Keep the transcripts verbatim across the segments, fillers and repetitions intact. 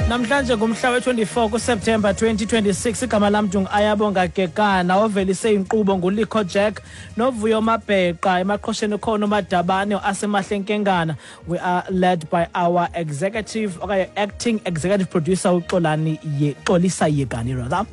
Namhlanje ngumhla we-twenty-four kuSeptemba twenty twenty-six. Igama lam Ayabonga Kekana, ovelise inkqubo nguLikho Jack noVuyo Mabheqa, emaqhosheni khona uMadabane asemahle Nkengana. We are led by our executive, okay, acting executive producer uXolani Ye, Xolisa Yekani rather.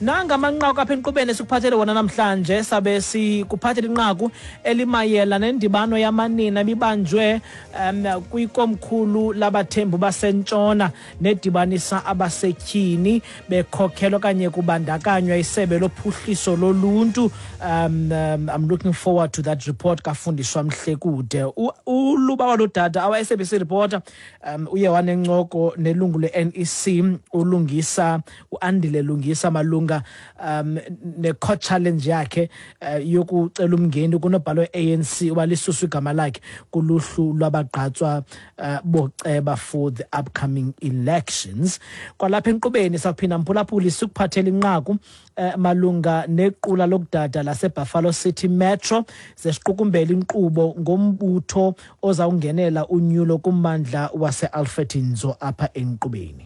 Nanga amanqaku apha enkqubeni esikuphathele wona namhlanje, sabe sikuphathele inqaku elimayela nendibano yamanina ebibanjwe um, kwikomkhulu labathembu basentshona nedibanisa abasetyhini bekhokhelwa okanye kubandakanywa isebe lophuhliso loluntu. Um, um, I'm looking forward to that report kafundiswa Mhlekude. Uluba waludada, our S A B C reporter, um, uye wanencoko nelungu le-N E C ulungisa uAndile Lungisa malunga um ne-court challenge yakhe uh, yokucela umngeni kunobhalo we-A N C uba lisuswe igama lakhe kuluhlu lwabagqatswa uh, boceba for the upcoming elections. Kwalapha enkqubeni sawuphinda mphulaphuli sikuphathela inqaku uh, malunga nequla lokudada laseBuffalo City Metro zesiqukumbela inkqubo ngombutho ozawungenela unyulo kummandla wase-Alfred Nzo apha enkqubeni.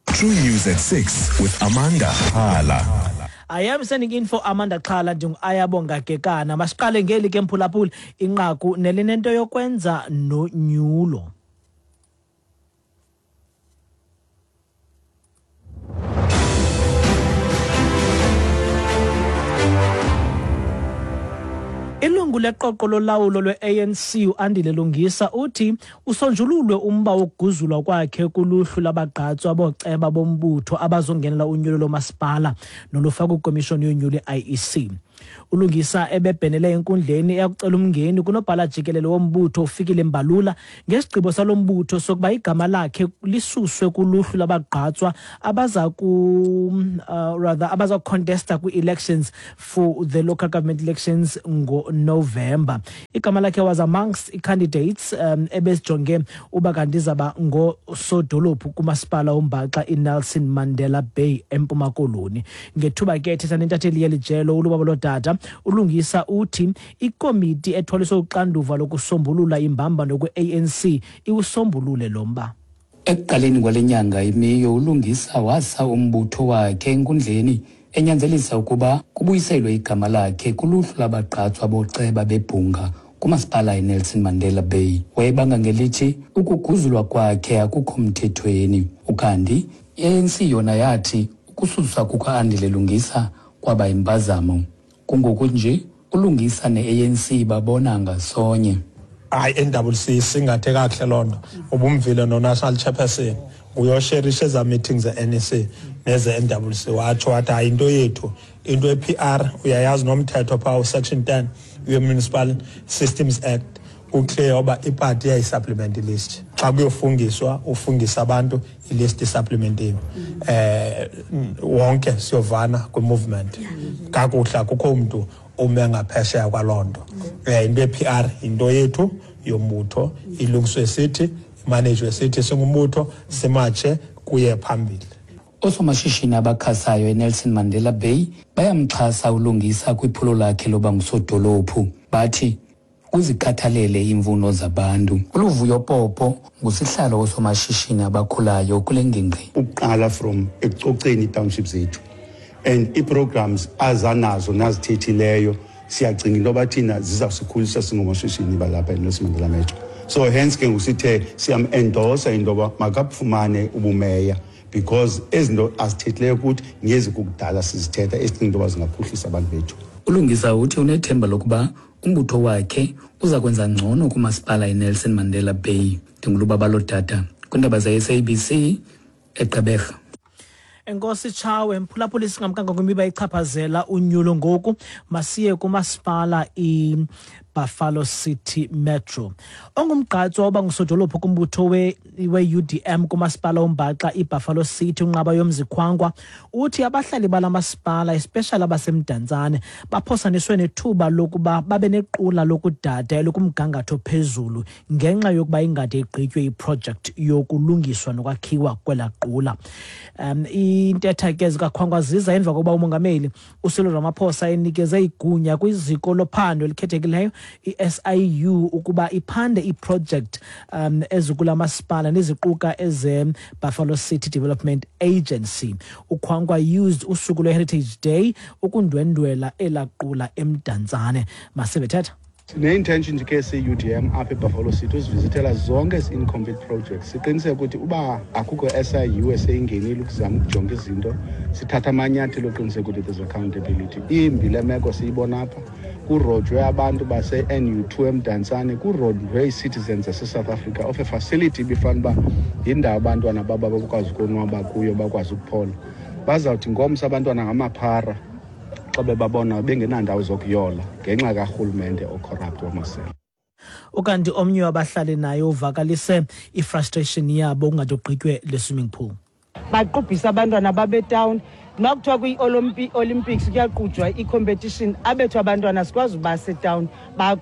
True News at six with Amanda Xhala. I am sending in for Amanda Xhala, ndingu-Ayabonga Kekana. Masiqale ngeli ke mphulaphuli inqaku nelinento yokwenza nonyulo. Ilungu leqoqo lolawulo lwe-A N C uAndile Lungisa uthi usonjululwe umba wokuguzulwa kwakhe kuluhlu labagqatswa boceba bombutho abazongenela unyulo lomasipala nolufakwa kwikomishoni yonyulo i-I E C. Ulungisa ebebhenele enkundleni eyakucela umngeni kunobhala jikelele wombutho uFikile Mbalula ngesigqibo salombutho sokuba igama lakhe lisuswe kuluhlu labagqatswa abaza ku uh, rather abaza contesta kwi-elections for the local government elections ngo-November. Igama lakhe was amongst candidates um, ebesijonge uba kanti izaba ngosodolophu kumasipala wombaxa iNelson Mandela Bay eMpuma Koloni. Ngethuba ke ethetha nentatheli yeli jelo uLubabalo Dada, Ulungisa uthi ikomiti ethwaliswe uxanduva lokusombulula imbambano kwe-A N C iwusombulule lo mba. Ekuqaleni kwale nyanga imiyo, uLungisa wasa umbutho wakhe enkundleni enyanzelisa ukuba kubuyiselwe igama lakhe kuluhlu labagqatswa boceba bebhunga kumasipala iNelson Mandela Bay. Wayebanga ngelithi ukuguzulwa kwakhe akukho mthethweni. Ukanti i-A N C yona yathi ukususwa kuka-Andile Lungisa kwaba impazamo. Kungoku nje uLungisa ne-A N C babona ngasonye. Hayi, N W C singathe kakuhle loo nto. Ubumvile no-national chairperson uyosherisha eza meetings ze-N E C neze-N W C, watsho wathi hayi into yethu, into ye-P R uyayazi nomthetho phaa usection ten we-Municipal Systems Act uclear uba ipati iyayisupplement ilist. Xa kuyofungiswa ufungisa abantu ilist isupplementiwe. Eh wonke siyovana kwi-movement kakuhle, akukho mntu ume ngaphesheya kwaloo nto. Eh into ye-P R into yethu yombutho, ilungiswe sithi, imanejwe sithi singumbutho, simatshe kuye phambili. Oosomashishini abakhasayo eNelson Mandela Bay bayamxhasa uLungisa kwiphulo lakhe loba ngusodolophu. Bathi uzikhathalele iimfuno zabantu. ULuvuyo Popo ngusihlalo wosomashishini abakhulayo kule ngingqi. Ukuqala from ekucoceni ii-township zethu and ii-programs azanazo nazithethileyo, siyacinga into yoba thina zizawusikhulisa singomashishini balapha eNelson Mandela Metro. So hence ke ngusithe siyam-endorsa into yoba makafumane ubumeya, because ezinto azithethileyo kuthi ngezi kukudala sizithetha esicinga into yoba zingaphuhlisa abantu bethu. ULungisa uthi unethemba lokuba umbutho wakhe uza kwenza ngcono kumasipala iNelson Mandela Bay. NdinguLubabalo Dada kwiindaba ze-S A B C eGqeberha. Enkosi Tshawe, mphulaphuli, singamkanga kwimiba ichaphazela unyulo ngoku, masiye kumasipala iBuffalo City Metro. Ongumgqatswa oba ngusodolophu kumbutho we-U D M kumasipala ombaxa iBuffalo City uNqaba Yomzikhwangwa uthi abahlali bala masipala, especially abaseMdantsane, baphosaniswe nethuba lokuba babe nequla lokudada elikumgangatho phezulu ngenxa yokuba ingade igqitywe iproject yokulungiswa nokwakhiwa kwela qula. Um, intetha ke zikaKhwangwa ziza emva kokuba umongameli uCyril Ramaphosa enikeze igunya kwiziko lophando elikhethekileyo i-S I U ukuba iphande iproject um ezikula masipala neziquka eze-Buffalo City Development Agency. UKwankwa used usuku lwe-Heritage Day ukundwendwela elaqula eMdantsane. Masibethetha. Sine-intention nje ke siyi-U D M apha eBuffalo City uzivizithela zonke ezi incomplete projects, siqiniseke ukuthi uba akukho S I U eseyingenile ukuzama ukujonga izinto, sithatha amanyathelo oqiniseka ukuthi there's accountability. Imbi le meko siyibona apha, kurojwe abantu base-N U two eMdantsane, kurojwe ii-citizens zaseSouth Africa of a facility ibifana uba yindawo abantwana babo bakwazi ukonwaba kuyo, bakwazi ukuphola. Bazawuthi ngomso abantwana ngamaphara xa bebabona bengenandawo zokuyola ngenxa karhulumente ocorrupt wamasela. Ukanti omnye wabahlali naye uvakalise ifrustration yabo kungade kugqitywe le swimming pool. Baqubhisa abantwana babetawuni. Uma kuthiwa kwi-Olympics kuyaqujwa i-competition, abethu abantwana sikwazi uba setawuni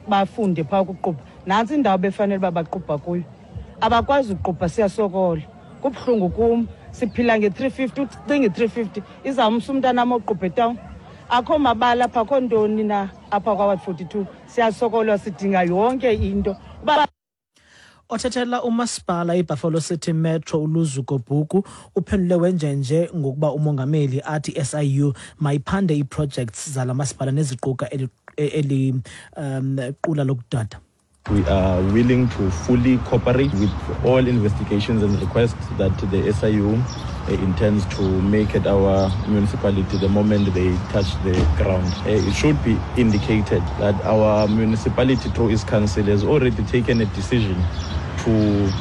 bafunde phaa ukuqubha. Nantsi indawo befanele uba baqubha kuyo, abakwazi ukuqubha, siyasokola, kubuhlungu kum. Siphila nge-three fifty, ucinga i-three fifty izawumsa umntanam oqubha etawuni. Akho mabala apha, akho ntoni na apha kwa-ward forty-two. Siyasokola, sidinga yonke into uba Othethela umasipala iBuffalo City Metro uLuzuko Bhuku uphendule wenjenje ngokuba umongameli athi S I U mayiphande ii-projects zala masipala neziquka eli, eli um qula lokudada. We are willing to fully cooperate with all investigations and requests that the S I U uh, intends to make at our municipality the moment they touch the ground. Uh, it should be indicated that our municipality through its council has already taken a decision to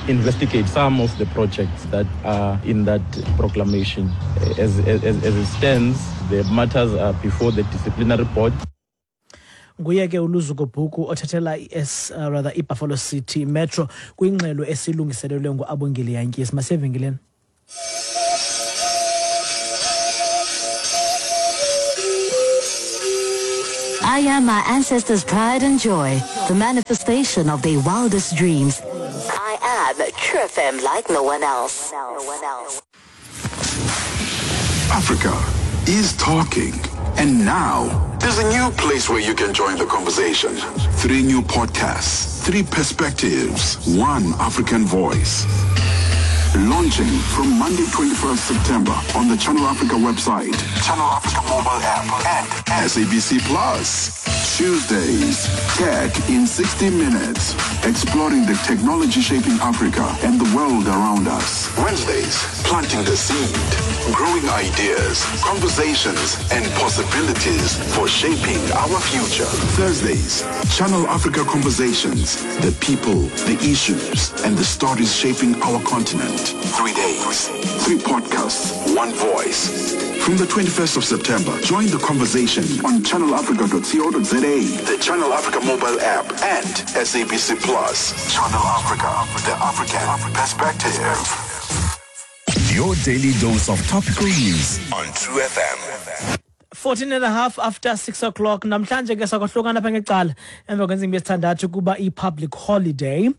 investigate some of the projects that are in that proclamation. Uh, As, as, as it stands, the matters are before the disciplinary board. Nguye ke uLuzuko Bhuku othethela i-S uh, rather iBuffalo City Metro kwingxelo esilungiselelwe nguAbongile Yantyisi. Masiyevenkileni. I am my ancestors' pride and joy, the manifestation of their wildest dreams. I am True F M like no one else. No one else. Africa is talking. And now, there's a new place where you can join the conversation. Three new podcasts, three perspectives, one African voice. Launching from Monday, twenty-first September on the Channel Africa website, Channel Africa mobile app, and S A B C Plus. Tuesdays, Tech in sixty Minutes, exploring the technology shaping Africa and the world around us. Wednesdays, planting the seed, growing ideas, conversations, and possibilities for shaping our future. Thursdays, Channel Africa Conversations, the people, the issues, and the stories shaping our continent. Three days, three podcasts, one voice. From the twenty-first of September, join the conversation on channelafrica dot co dot za, the Channel Africa mobile app, and S A B C Plus. Channel Africa, the African perspective. Your daily dose of topical news on True F M. fourteen and a half after six o'clock. Namhlanje ke sakwahlukana apha ngecala emva kwentsimbi yesithandathu kuba i-public holiday.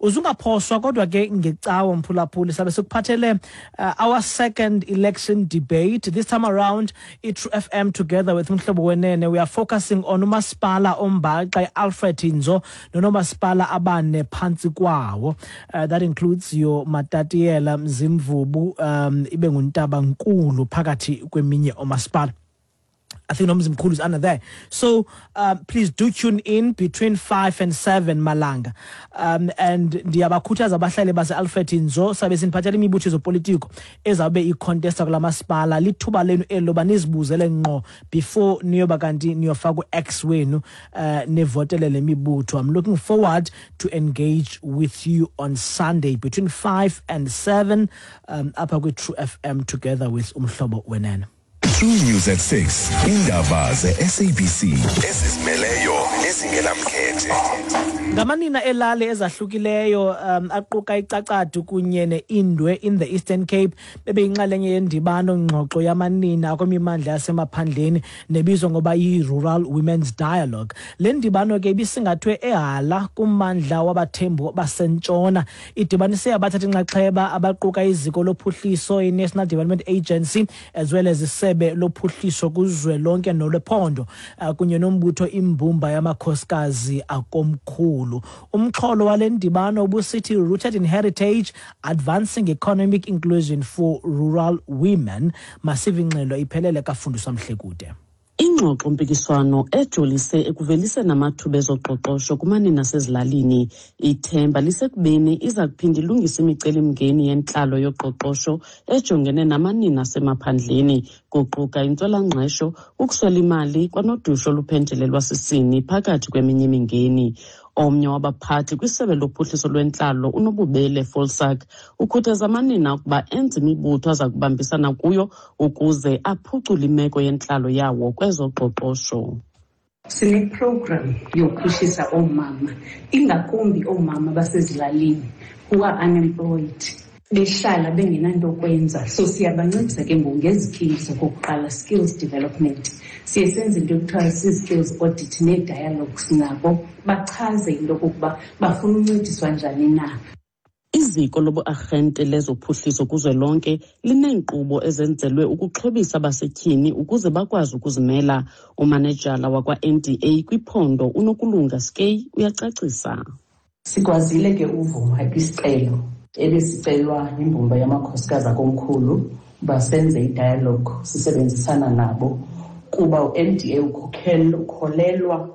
Uzungaphoswa kodwa ke ngecawa, mphulaphuli, sabe sikuphathele uh, our second election debate. This time around, i-True F M together with Umhlobo Wenene, we are focusing on umasipala ombaxa i-Alfred Nzo nonomasipala abane phantsi kwawo. uh, that includes your Matatiela, Mzimvubu, um, ibe nguNtabankulu phakathi kweminye omasipala. I think Nomzimkhulu is under there. So um, please do tune in between five and seven malanga. Um, and ndiyabakhuthaza abahlali base-Alfred Nzo, sabe siniphathela imibutho yezopolitiko ezawube icontesta kula masipala. Lithuba lenu eli loba nizibuzele ngqo before niyoba kanti niyofaka u-X wenu uh, nivotele le mibutho. I'm looking forward to engage with you on Sunday between five and seven um, apha kwi-True F M together with Umhlobo Wenene. True News at six. Indaba ze-S A B C ezizimeleyo nezingenamkhethe. Ngamanina elali ezahlukileyo um, aquka iCacadu kunye neIndwe in the Eastern Cape bebeyinxalenye yendibano ngxoxo yamanina kwimimandla yasemaphandleni nebizwa ngoba yi-Rural Women's Dialogue. Le ndibano ke ibisingathwe eHala kummandla wabaThembu basentshona. Idibanise abathatha inxaxheba abaquka iziko lophuhliso i-National Development Agency as well as isebe lophuhliso kuzwelonke nolwephondo uh, kunye nombutho imbumba yamakhosikazi akomkhulu. Umxholo wale ndibano ubusithi Rooted in Heritage, Advancing Economic Inclusion for Rural Women. Masive ingxelo iphelele kaFundiswa Mhlekude. Ingxoxo-mpikiswano ejolise ekuveliseni amathuba ezoqoqosho kumanina asezilalini. Ithemba lisekubeni iza kuphinda ilungise imicelimngeni yentlalo yoqoqosho ejongene namanina asemaphandleni, kuquka intswelangqesho, ukuswela imali kwanodushe oluphenjelelwa sisini phakathi kweminye imingeni. Omnye wabaphathi kwisebe lophuhliso lwentlalo uNobubele Folsak ukhuthaza amanina ukuba enze imibutho aza kubambisana kuyo ukuze aphucule imeko yentlalo yawo kwezoqoqosho. Sineprogram yophuhlisa oomama, ingakumbi oomama basezilalini who are unemployed, behlala bengenanto kwenza. So siyabancedisa ke ngoku ngezi-skills okokuqala, skills development. Siye senze into ekuthiwa zii-skills audit nee-dialogues nabo, bachaze into okokuba bafuna uncediswa njani na. Iziko lobu-arhente lezophuhliso kuzwelonke lineenkqubo ezenzelwe ukuxhobisa abasetyhini ukuze bakwazi ukuzimela. Umanejala wakwa-N D A kwiphondo uNokulunga Skey uyacacisa. Sikwazile ke uvuma kwisicelo ebesicelwa yimbumba yamakhosikazi akomkhulu uba senze i-dialogue sisebenzisana nabo, kuba u-N D A ukholelwa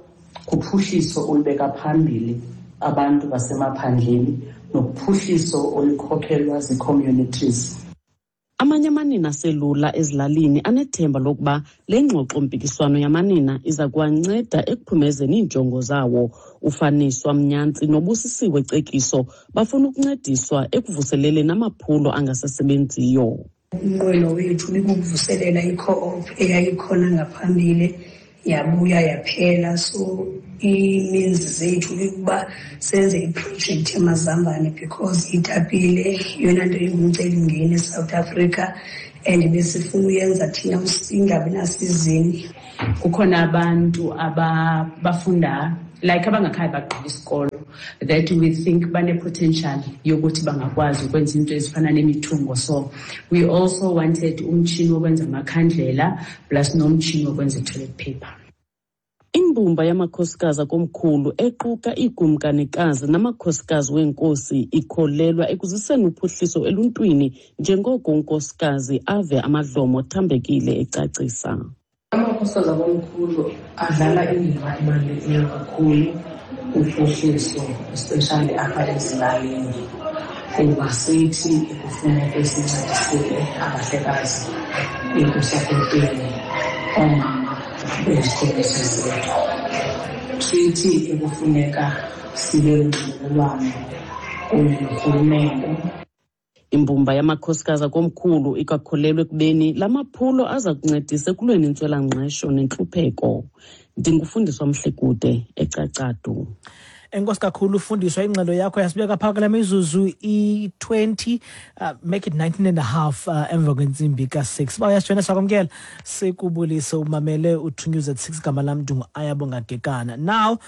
kuphuhliso olubeka phambili abantu basemaphandleni nophuhliso olukhokhelwa zii-communities. Amanye amanina aselula ezilalini anethemba lokuba le ngxoxo-mpikiswano yamanina iza kuwanceda ekuphumezeni iinjongo zawo. Ufaniswa Mnyantsi noBusisiwe Cekiso bafuna ukuncediswa ekuvuseleleni amaphulo angasasebenziyo. Umnqweno wethu bikukuvuselela i-co-op eyayikhona ngaphambili, yabuya yaphela. So ii-means zethu ikuba senze iprojekthi yamazambane because itapile yeyona nto ingumcelimngeni eSouth Africa and besifuna uyenza thina ingabi nasizini. Kukhona abantu abafunda like abangakhaya bagqiba isikolo that we think bane-potential yokuthi bangakwazi ukwenza into ezifana nemithungo. So we also wanted umtshini wokwenza amakhandlela plus nomtshini wokwenza i-toilet paper. Imbumba yamakhosikazi akomkhulu equka iikumkanikazi namakhosikazi weenkosi ikholelwa ekuziseni uphuhliso eluntwini njengoko unkosikazi ave amadlomo thambekile ecacisa. Amakhosikazi akomkhulu adlala indima ebalulekileyo kakhulu kuphuhliso, especially apha ezilalini, kuba sithi ekufuneka sincedisile abahlekazi ekusapoteni oomama bezikhokisi zethu. Sithi ekufuneka sibe nonxibelelwano kunye norhulumente. Imbumba yamakhosikazi akomkhulu ikwakholelwa ekubeni la maphulo aza kuncedisa ekulweni intswelangqesho nentlupheko. Ndingufundiswa Mhlekude eCacadu. Enkosi kakhulu ufundiswa, ingxelo yakho yasibeka phaka kula mizuzu i-twenty, uh, make it nineteen and a half uh, emva kwentsimbi ka-six. Uba uyasijoyina sakwamkela, sikubulise umamele u-True News at six. Gama lam ndingu Ayabonga Gekana. Now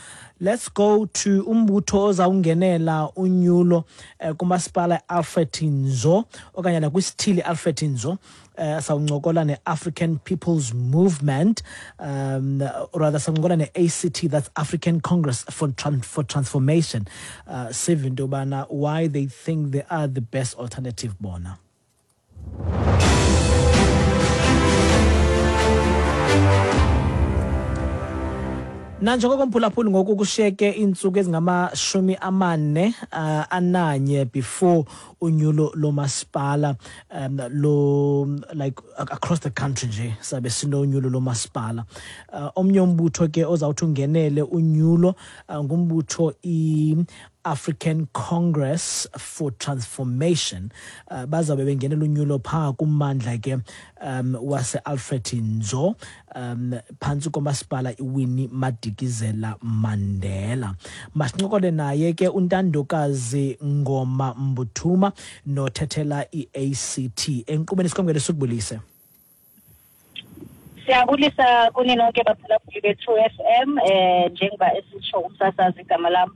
let's go to umbutho ozawungenela unyulo uh, kumasipala Alfred Nzo okanye nakwisithili Alfred Nzo. Uh, sawuncokola ne-African People's Movement, um, or rather sawuncokola ne-A C T, that's African Congress for, Tran- for Transformation. Uh, sive into yobana why they think they are the best alternative bona. Nanjengoko mphulaphuli ngoku kushiyeke iintsuku ezingamashumi amane uh, ananye before unyulo lomasipala um, lo like across the country nje sabe sinonyulo lomasipala. Uh, omnye umbutho ke ozawuthi ungenele unyulo uh, ngumbutho i African Congress for Transformation. uh, Bazawube bengenela unyulo phaa kummandla ke um wase-Alfred Nzo, um phantsi komasipala iWinnie Madikizela Mandela. Masincokole naye ke uNtandokazi Ngoma Mbuthuma nothethela i-A C T enkqubeni. Sikwamkele, sikubulise. Siyabulisa kuni nonke baphulaphuli be-True F M. eh njengoba esitsho umsasazi, igama lam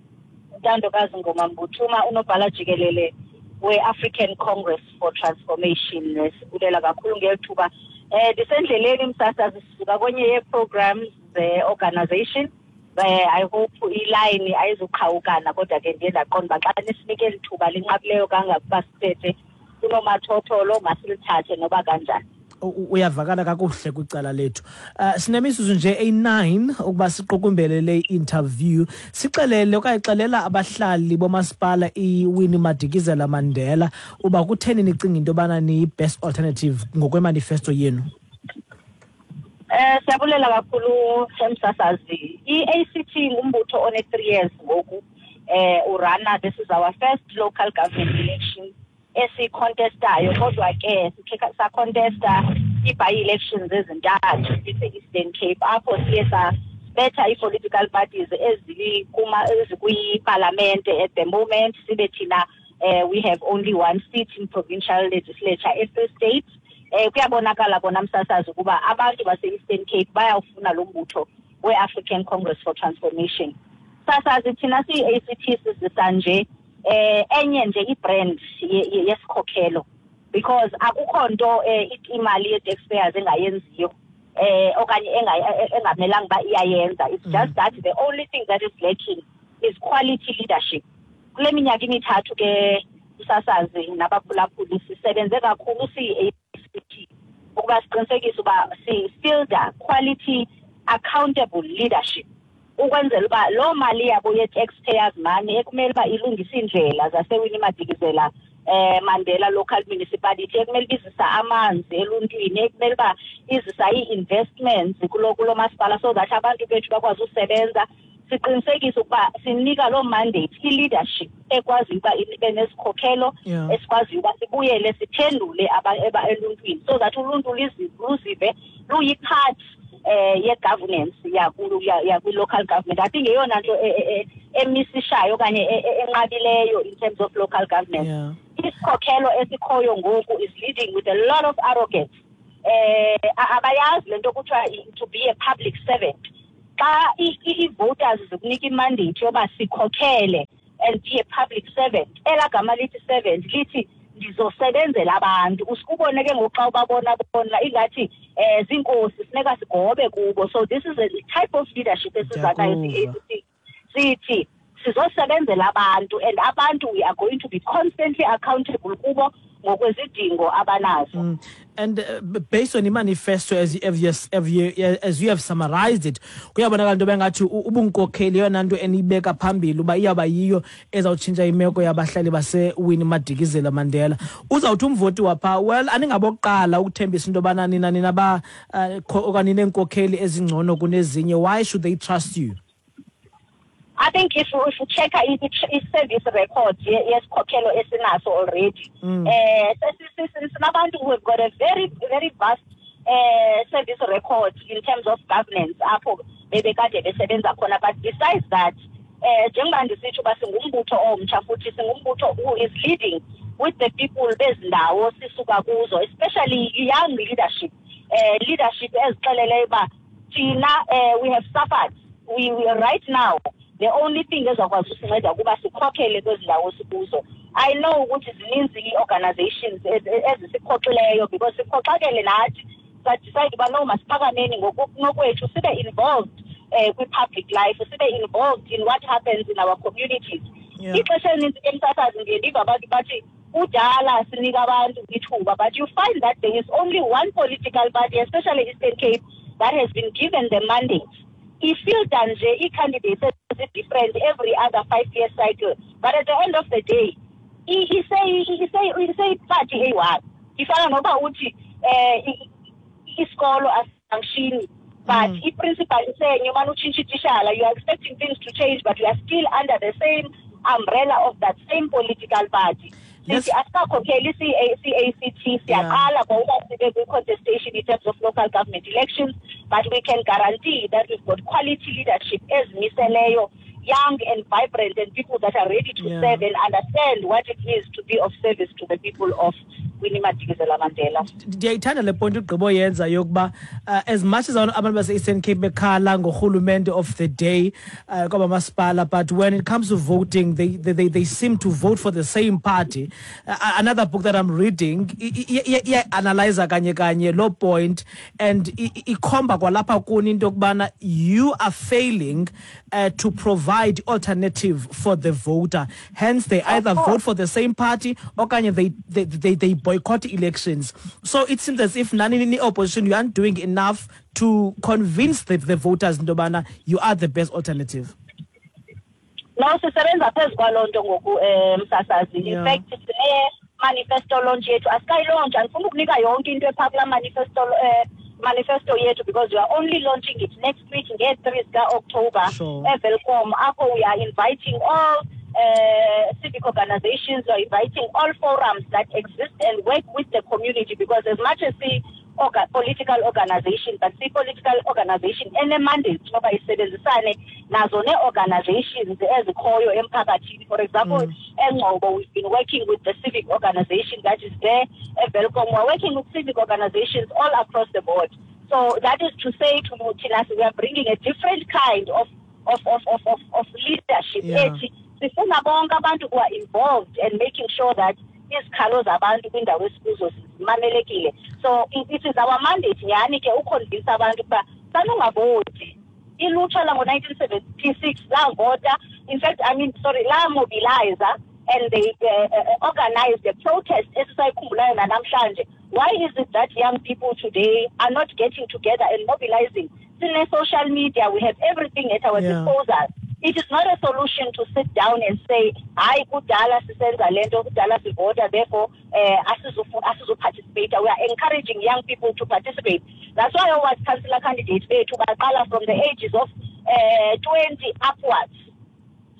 uNtandokazi Ngoma Mbuthuma, unobhala jikelele we-African Congress for Transformation. Sibulela kakhulu ngeli thuba. eh ndisendleleni msasazi, sisuka kwenye yee-programs ze-organization. eh I hope ilayini ayizuqhawukana, kodwa ke ndiye ndaqonda uba xa nisinike eli thuba linqabileyo kangakuba sithethe kunomathotholo, masilithathe noba kanjani. Uyavakala kakuhle kwicala lethu. uh, sinemizuzu nje eyi-nine ukuba siqukumbele le interview. Sixelele okanye xelela abahlali bomasipala iWinnie Madikizela Mandela uba kutheni nicinga into yobana niyi-best alternative ngokwemanifesto yenu. Eh siyabulela kakhulu, msasazi. I-A C T ngumbutho one three years ngoku eh urana. This is our first local government election esicontestayo, kodwa ke sikhe sacontesta i-by-elections ezintathu e-Eastern Cape, apho siye sabetha i-political parties ezikuma ezikwipalamente at the moment, sibe thina eh we have only one seat in provincial legislature e-Free State. eh kuyabonakala kona, msasazi, ukuba abantu base-Eastern Cape bayawufuna lo mbutho we-African Congress for Transformation. Sasazi, thina siyi-A C T sizisa nje eh enye nje ibrand yesikhokhelo, because akukho nto eh, imali ye-taxpayers engayenziyo eh okanye engamelanga uba iyayenza. It's just that the only thing that is lacking is quality leadership. Kule minyaka imithathu ke, msasazi nabaphulaphuli, sisebenze kakhulu siyi-A C T ukuba siqinisekise uba si-fielda quality, accountable leadership, ukwenzela uba loo mali yabo ye-taxpayers money ekumele uba ilungise iindlela zaseWinnie Madikizela eh Mandela Local Municipality, ekumele uba izisa amanzi eluntwini, ekumele uba izisa ii-investments kulo kulo masipala so that abantu bethu bakwazi usebenza, siqinisekise ukuba sinika loo mandate i-leadership ekwaziyo uba ibe nesikhokhelo Yeah. esikwaziyo uba sibuyele siphendule aba- eluntwini so that uluntu luzive luyi-part eh ye-governance yakwi-local government. I think yeyona nto e- e- e- emisishayo okanye e- e- enqabileyo in terms of local governance. Yeah. Isikhokhelo esikhoyo ngoku is leading with a lot of arrogance. eh a- abayazi lento kuthiwa i- to be a public servant. Xa i- i- i-voters zikunika imandate yoba sikhokhele and be a public servant, elaa gama lithi servant lithi ndizosebenzela abantu. Usikubone ke ngoku xa ubabona bona ingathi um ziinkosi, funeka sigobe kubo. So this is a type of leadership esiza nayo. Ndiyakuva. Siyi-A C T sithi sizosebenzela abantu, and abantu we are going to be constantly accountable kubo ngokwezidingo abanazo. Mm. And uh, b- based on i-manifesto as, as, you, as, you, as you have summarized it, kuyabonakala into bengathi u- ubunkokheli yeyona nto eniyibeka phambili uba iyawuba yiyo ezawutshintsha imeko yabahlali baseWinnie Madikizela Mandela. Uzawuthi umvoti wapha, well, aningabokuqala ukuthembisa into yobana nina nina ba uh, okanye nineenkokheli ezingcono kunezinye. Why should they trust you? I think if if you check i-service record yesikhokhelo esinaso already, Mm. eh sinabantu who have got a very, very vast eh service record in terms of governance apho bebekade besebenza khona. But besides that, eh njengoba ndisitsho uba singumbutho omtsha, futhi singumbutho who is leading with the people bezindawo sisuka kuzo, especially young leadership, eh leadership ezixeleleyo uba thina eh we have suffered. we, we right now, the only thing ezakwazi usinceda ukuba sikhokhele kwezi ndawo sikuzo. I know ukuthi zininzi ii-organizations ezisiphoxileyo because siphoxakele nathi, sadecide uba no, masiphakameni ngokunokwethu, sibe involved eh kwi-public life, sibe involved in what happens in our communities. Yeah. Ixesha elininzi ke, msasazi, ndiye ndiva abantu bathi kudala sinika abantu ithuba, but you find that there is only one political party, especially Eastern Cape, that has been given the mandate ifilter nje ii-candidates ezi-different every other five year cycle. But at the end of the day iseyiparty eyi-one. Ifana noba uthi um isikolo asifunctioni, but mm. i-principal isenye, umane utshintsha itishala. You are expecting things to change, but you are still under the same umbrella of that same political party. Sithi asikakhokheli C A C T, siyaqala ngokuba sibe kwi-contestation in terms of local government elections, but we can guarantee that we've got quality leadership ezimiseleyo, young and vibrant, and people that are ready to Yeah. serve and understand what it is to be of service to the people of Winnie Madikizela Mandela. Ndiyayithanda le point ugqibo yenza yokuba uh, as much as abantu base-Eastern Cape bekhala ngorhulumente of the day uh, kwabamasipala, but when it comes to voting, they, they, they, they seem to vote for the same party. Uh, another book that I'm reading iyayi-analyza kanye kanye loo point and i- i- ikhomba kwalapha kuni into yokubana you are failing uh, to provide alternative for the voter. Hence they either vote for the same party okanye they, they, they, they boycott elections. So it seems as if nani ni opposition, you aren't doing enough to convince the, the voters into yobana you are the best alternative. No, sisebenza phezu kwaloo nto ngoku, um msasazi. In Yeah. fact, sine-manifesto launch yethu. Asikayi-launch, andifuna ukunika yonke into ephaa kulaa manifesto, um manifesto yethu, because we are only launching it next week ngee-three zika-October Sure. eWelkom, apho we are inviting all uh, civic organizations, we are inviting all forums that exist and work with the community, because as much as the orga, political organization, but si-political organization ene-mandate yoba isebenzisane nazo nee-organizations ezikhoyo emphakathini. For example, eNgcobo we've been working with the civic organization that is there. EWelkom we're working with civic organizations all across the board. So that is to say to thina, we are bringing a different kind of of of of of, of leadership Yeah. ethi sifuna bonke abantu who are involved and making sure that izikhalo zabantu kwindawo esikuzo zimamelekile. So it, it is our mandate nyhani ke u-convince abantu ukuba sanungavoti. Ilutsha lango-nineteen seventy-six lavota, in fact, I mean, sorry, la-mobiliza and they uh, uh, organized a protest esisayikhumbulayo nanamhlanje. Why is it that young people today are not getting together and mobilizing? Sine-social media, we have everything at our Yeah. disposal. It is not a solution to sit down and say, "Hayi, kudala sisenza le nto, kudala sivota, therefore um asizu-participate." We are encouraging young people to participate. That's why our councillor candidates bethu baqala from the ages of uh, twenty upwards.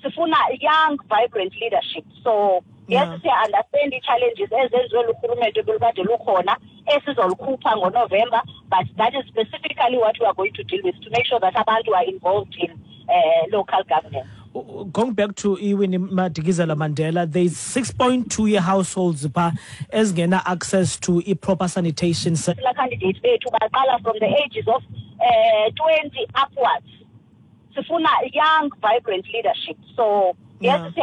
Sifuna young, vibrant leadership. So yes, Yeah. siya-understand ii-challenges ezenziwe lurhulumente ebelukade lukhona esizolukhupha ngoNovemba, but that is specifically what we are going to deal with, to make sure that abantu are involved in uh, local governance. Going back to iWinnie Madikizela Mandela, there's six point two year households pha ezingena access to i-proper sanitation. Councillor candidates bethu baqala from the ages of uh, twenty upwards. Sifuna young, vibrant leadership. So yes, Yeah. siya